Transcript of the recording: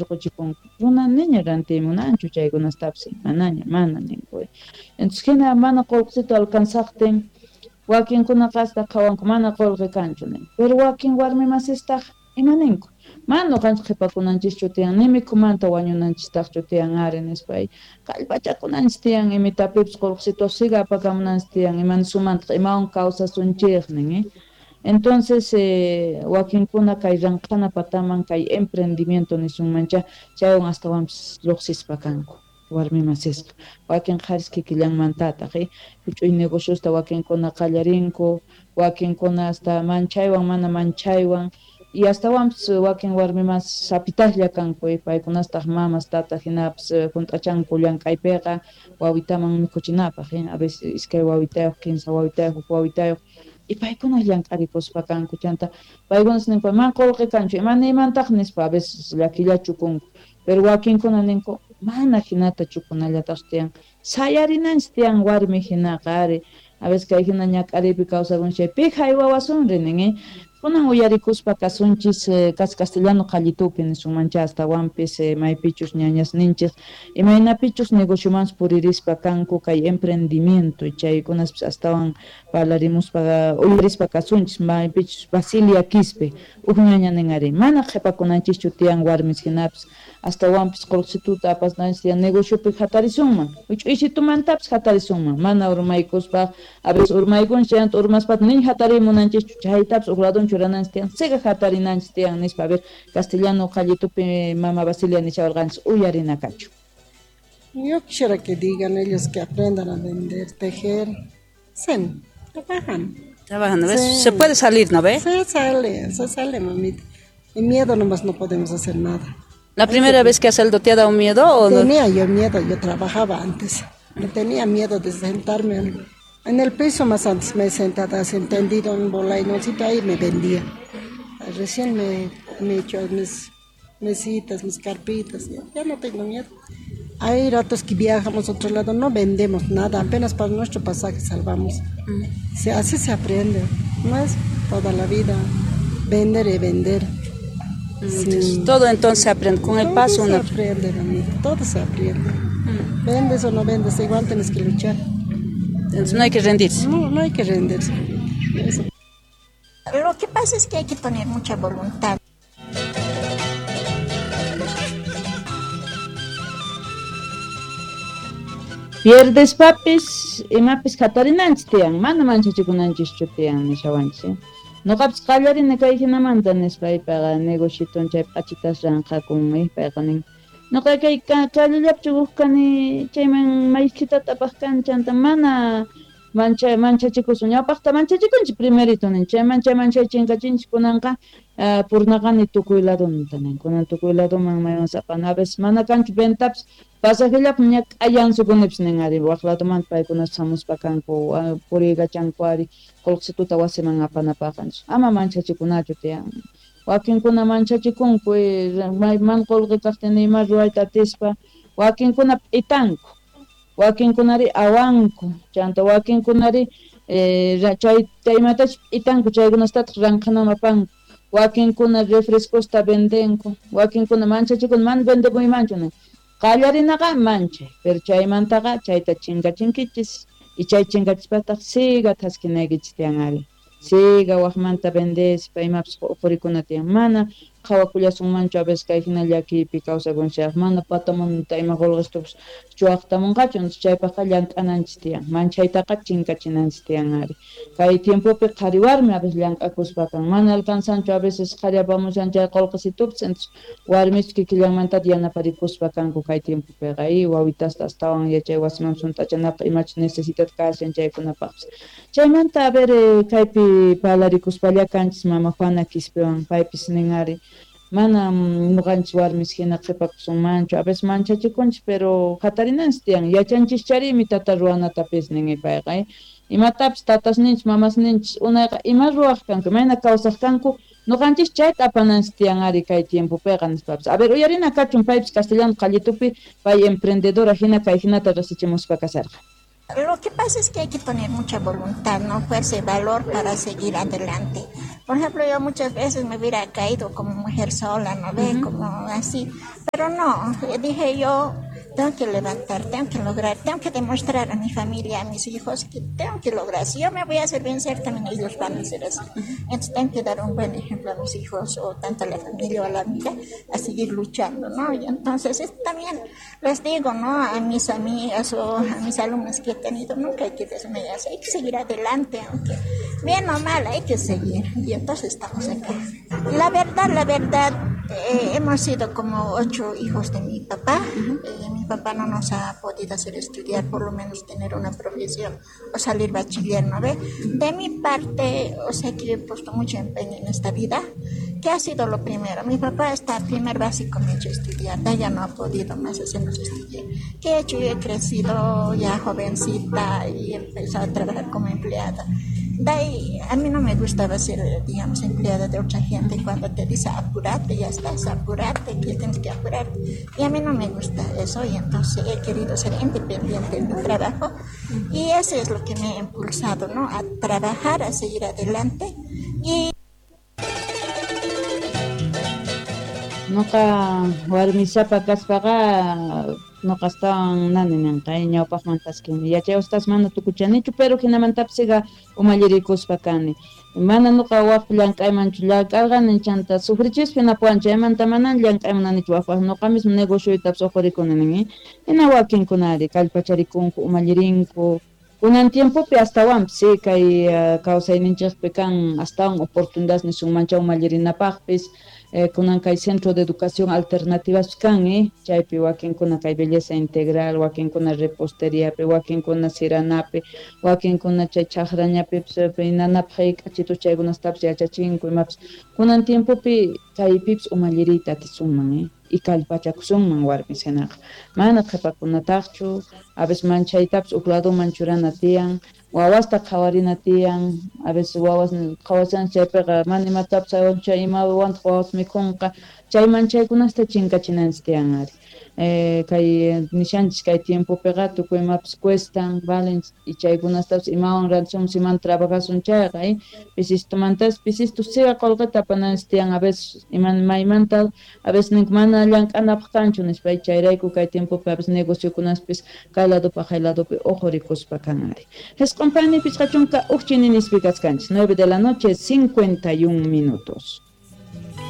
rantirquchikunku. Runa niña rantiy munanchu chaykunastapis, manaña, mana ninku. Entonces hina mana qullqisito alcanzaqtin wakinkunaqa hasta qhawanku mana qullqi kanchu nin. Pero wakin warmi masistaq ima ninku? Mana nuqanchik qhipakunanchischu tiyan, ni mikhumanta wañunanchistaqchu tiyan ari nispa. Kallpachakunanchis tiyan imitapipis qullqisito siga apakamunanchis tiyan, imanisumantaq imawan kawsasunchik nin. Entonces wakinkuna kay ranqhana pataman kay emprendimiento nisunmancha chaywan astawanpis lluqsispa kanku warmi masisqa. Wakin qharis kikillanmantataq huch'uy negociosta wakinkuna qallarinku, wakinkuna hasta manchaywan mana manchaywan y astawanpis wakin warmi mas sapitaqlla kanku, paykunastaq mamas tata hinapis hunt'achanku llank'aypiqa wawitaman mikhuchinapaq, a veces iskay wawitayuq, kinsa wawitayuq, huk wawitayuq y paykuna llank'arikuspa kanku. Chanta paykunas ninku man qullqi kanchu, ima niymantaq nispa a veces llakillachukunku. Pero wakinkuna ninku mana hinata chukunallataq tiyan, sayarinanchis tiyan warmi hinaqa ari. A veces kay hina ñak'ariypi kawsakunchis chay pi haywawasunri nin. Kunan uyarikuspa kasunchis kas castellano qallitupi nisunmancha astawanpis maypichus ñañasninchis imaynapichus negociomanpis puririspa kanku kay emprendimiento chaykunaspis astawan parlarimuspa uyarispa kasunchis maypichus Basilia Quispe uj ñaña nin ari mana qhipakunanchischu tiyan warmis hinapis astawanpis qullqisituta apasnanchis tiyan negociopi hatarisunman huch'uysitumantapis hatarisunman mana urmaykuspa a veces urmaykunchis chayanta urmaspata nin hatarimunanchischu chaytapis uj ladun churananchis tiyan siga hatarinanchis tiyan nispa. A ver, castellano qallitupi mama Basilia nishawarqanchis uyarina kachu. Yo quisiera que digan ellos que aprendan a vender, tejer. Sí, trabajan. Trabajan, ¿no ves? Sí. Se puede salir, ¿no ves? Se sale, mamita. Y miedo nomás no podemos hacer nada. ¿La primera vez que has salido te ha dado miedo o no? Tenía yo miedo, yo trabajaba antes. Me tenía miedo de sentarme en el piso, más antes me he sentado, así entendido en bolainoncito, ahí me vendía. Recién me he hecho mis mesitas, mis carpitas, ya no tengo miedo. Hay ratos que viajamos a otro lado, no vendemos nada, apenas para nuestro pasaje salvamos. Así se aprende, no es toda la vida vender y vender. Sí. Todo entonces se aprende, con el Todo paso se uno aprende, mamita, todo se aprende. Vendes o no vendes, igual tienes que luchar. Entonces no hay que rendirse. No, no hay que rendirse. Eso. Lo que pasa es que hay que poner mucha voluntad. Pierdes papis, imapis hatarinanchis tiyan, mana manchachikunanchis tiyan nishawanchis. Noqapis qallarini kay hinamanta nispa payqa negociton chay p'achitas ranqakun, payqa nin. Noqa kay kallallapi huk kani chayman maykitata apaq kan chanta mana manchachikusun ñawpaqta manchachikunchis primerito nin chay manchay chinkachinchis kunanqa purnaqani tukuy ladunta nin kunan tukuy laduman maywan sapana a veces mana kanchu ventapis pasajellapi ña k'ayansukunipis nin ari waq ladumanta paykunas hamuspa kanku puriykachanku ari qullqisituta wasiman apanapaq ama manchachikunachu tiyan. Wakinkuna manchachikunku man qullqi kaqtin ima ruwayta atispa wakinkuna p'itanku wakinkunari awanku chanta wakinkunari chay imatachus p'itanku chaykunastataq ranqhanaman apanku wakinkuna refrescosta vendenku wakinkuna manchachikuna mana vendekuymanchu nin qallarinaqa manchay pero chaymantaqa chayta chinkachinkichis y chay chinkachispataq siga thaskinaykichis tiyan ari siga waqmanta vendespa imapis uqurikuna tiyan mana qhawakullasunmanchu a veces kay hina llakiypi kawsakunchikaq mana patamanta ima qullqistupis chuwaqtamunqachu chaypaqqa llank'ananchis tiyan manchaytaqa chinkachinanchis tiyan ari kay tiempopi qhari warmi a veces llank'akuspa kan mana alcanzanchu a veces qhari apamushan chay qullqisitupis entonces warmis kikillanmantata yanaparikuspa kanku kay tiempopiqa y wawitasta astawan yachay wasiman sunt'achanapaq imachus necesitat kashan chaykunapaqpis chaymanta a ver kaypi parlarikuspalla kanchis mama Juana Quispewan paypis nin ari mana nuqanchis warmis hina qhipakusunmanchu a veces manchachikunchis pero hatarinanchis tiyan yachanchischarini tata ruwanatapis nin payqa imatapis tatasninchis mamasninchis unayqa ima ruwaq kanku imayna kawsaq kanku nuqanchis chayta apananchis tiyan ari kay tiempopiqa nispapis a ver uyarina kachun paypis castellano qallitupi pay emprendedora hina kay hinata rasichimuspa kasarqa. Lo que pasa es que hay que poner mucha voluntad, ¿no? Fuerza y valor para seguir adelante. Por ejemplo, yo muchas veces me hubiera caído como mujer sola, ¿no ve? Como así. Pero no, dije yo, tengo que levantar, tengo que lograr, tengo que demostrar a mi familia, a mis hijos, que tengo que lograr. Si yo me voy a hacer vencer, también ellos van a ser así. Entonces tengo que dar un buen ejemplo a mis hijos, o tanto a la familia o a la amiga, a seguir luchando, ¿no? Y entonces también les digo, ¿no? A mis amigas o a mis alumnas que he tenido, nunca hay que desmayarse, hay que seguir adelante, aunque bien o mal, hay que seguir. Y entonces estamos acá. La verdad, hemos sido como 8 hijos de mi papá. Mi papá no nos ha podido hacer estudiar, por lo menos tener una profesión o salir bachiller, ¿no ve? De mi parte, o sea que yo he puesto mucho empeño en esta vida, que ha sido lo primero. Mi papá hasta primer básico me ha hecho estudiar, de ya no ha podido más hacernos estudiar. ¿Qué he hecho? Yo he crecido ya jovencita y he empezado a trabajar como empleada. De ahí, a mí no me gustaba ser, digamos, empleada de otra gente. Cuando te dice apurate, ya estás, apurate, que tienes que apurarte. Y a mí no me gusta eso, y entonces he querido ser independiente en mi trabajo. Y eso es lo que me ha impulsado, ¿no? A trabajar, a seguir adelante. Y Noqa warmisapa kaspaqa noqa astawan nani ninqa ñawpaqmantaskini yachaywastas mana tukuchanichu, pero hinamantapisiqa umallirikuspa kani. Mana noqa waq llank'aymanchu llank'arqani, chanta sufrichispa hinapuwan chaymanta manan llank'aymananichu waqpaq, noqa mismo negocioytapas uqurikuni nin. Hina wakinkunari kallpacharikunku, umallirinku. Kunan tiempopi astawanpis sí, kay kawsayninchikpi kan astawan oportunidades nisunmancha umallirinapaqpis. Kunan kay centro de educación alternativa kan, chaypi wakinkuna kay belleza integral, wakinkuna reposteriapi, wakinkuna siranapi, wakinkuna chay chaqrañapi, nanapaq k'achitu chaykunastapis yachachinku imapis. Kunan tiempopi kaypipis umalliriyta atisunman, y kallpachakusunman warmis hinaqa. Mana qhipakunataqchu, a veces manchaytapis huk ladoman churana tiyan, wawasta qhawarina tiyan, a veces wawas qhawashan chaypiqa mana imatapis chay imawantaq wawas mikhunqa, chay manchaykunasta chinkachinanchis tiyan ari. Kay nishanchis kay tiempopiqa tukuy imapis cuestan, valen, y chaykunastapis imawan rantisun, iman trabajasun chayqa, pisistumantas pisistu siga qullqita apananchis tiyan, a veces iman maymanta, a veces nink mana llank'anapaq kanchu nispa, chayrayku kay tiempopi a veces negociokunaspis kay ladopi jay ladopi uqurikuspa kan ari. 9:51 nispi kaskanchis, 9 de la noche, 51 minutos.